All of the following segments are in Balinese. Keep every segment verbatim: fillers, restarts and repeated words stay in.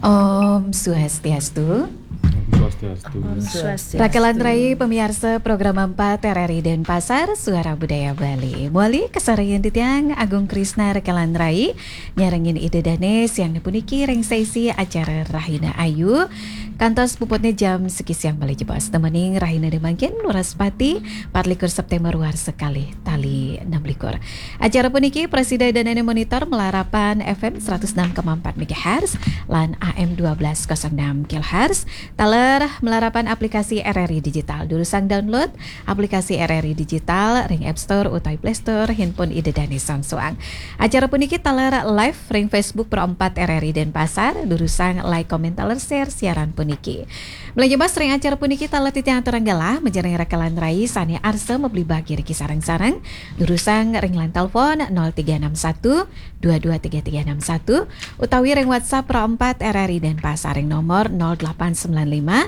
Om Swastiastu. Om Swastiastu. Om Swastiastu. Rakelan rai pamiarsa Program empat R R I Denpasar, Suara Budaya Bali. Muali kasarian titiang Agung Krisna, rakelan rai, nyarengin Ida Dane siang puniki ring saisi acara Rahina Ayu. Kantos puputne jam siki siang malih jebos. Temening Rahina Demangkin, Wraspati, empat likur September warsa kalih tali enam likur. Acara puniki prasida Ida Dane monitor malarapan F M seratus enam koma empat megahertz lan A M dua belas kosong enam kilohertz. Taler malarapan aplikasi R R I Digital. Durusang download aplikasi R R I Digital ring App Store utawi Play Store handphone Ida Dane soang-soang. Acara puniki taler live ring Facebook Pro empat R R I Denpasar. Durusang like, comment, taler share siaran puniki. Malih jebos ring acara puniki taler titiang aturang galah majeng ring rakelan rai sane arsa mabligh bagi riki sareng-sareng. Durusang ring line telepon nol tiga enam satu dua dua tiga tiga enam satu utawi ring WhatsApp Pro empat R R I Denpasar ring nomor nol delapan sembilan lima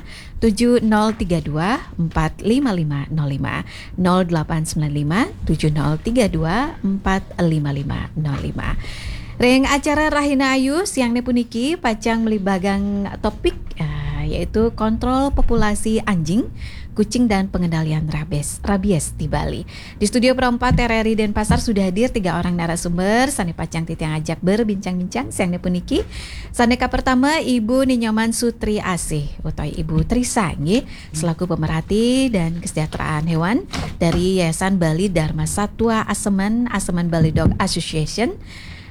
tujuh nol tiga dua empat lima lima nol lima, nol delapan sembilan lima tujuh nol tiga dua empat lima lima nol lima. Ring acara Rahina Ayu siangne puniki pacang malih bagang topik, ah, yaitu kontrol populasi anjing, kucing dan pengendalian rabies, rabies di Bali. Di studio Pro empat R R I Denpasar sudah hadir tiga orang narasumber sane pacang titiang ajak berbincang-bincang siangne puniki. Sane kapertama Ibu Ni Nyoman Sutri Asih utawi Ibu Trisa nggih, selaku pemerhati dan kesejahteraan hewan dari Yayasan Bali Dharma Satwa Asemen, Asemen Bali Dog Association,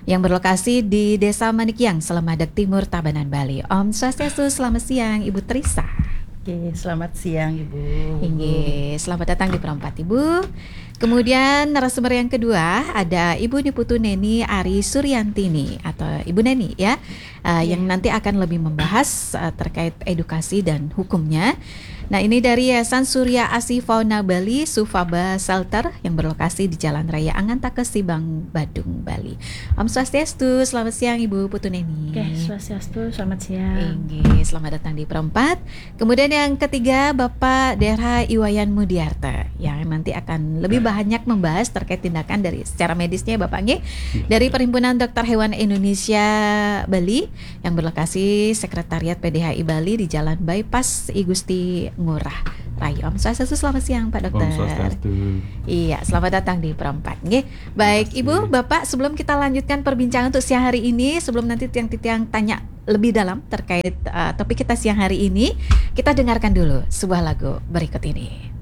yang berlokasi di Desa Manikyang, Selemadeg Timur, Tabanan, Bali. Om Swastiastu, selamat siang Ibu Trisa. Oke, selamat siang Ibu. Inggih, selamat datang di Pro empat Ibu. Kemudian narasumber yang kedua ada Ibu Ni Putu Neni Ari Suryantini atau Ibu Neni ya, uh, yang nanti akan lebih membahas uh, terkait edukasi dan hukumnya. Nah, ini dari Yayasan Surya Asih Fauna Bali, Sufaba Shelter, yang berlokasi di Jalan Raya Angantaka Sibang, Badung, Bali. Om Swastiastu, selamat siang Ibu Putu Neni. Oke, Swastiastu, selamat siang. Inggih, selamat datang di Pro empat. Kemudian yang ketiga Bapak Derha Iwayan Mudiarta yang nanti akan lebih banyak membahas terkait tindakan dari secara medisnya Bapak nggih, dari Perhimpunan Dokter Hewan Indonesia Bali yang berlokasi Sekretariat P D H I Bali di Jalan Bypass I Gusti Ngurah Rai. Om Swastiastu, selamat siang Pak Dokter. Om Swastiastu. Iya, selamat datang di Pro empat nggih. Baik, Terima Ibu, kasih. Bapak, sebelum kita lanjutkan perbincangan untuk siang hari ini, sebelum nanti tiang-tiang tanya lebih dalam terkait uh, topik kita siang hari ini, kita dengarkan dulu sebuah lagu berikut ini.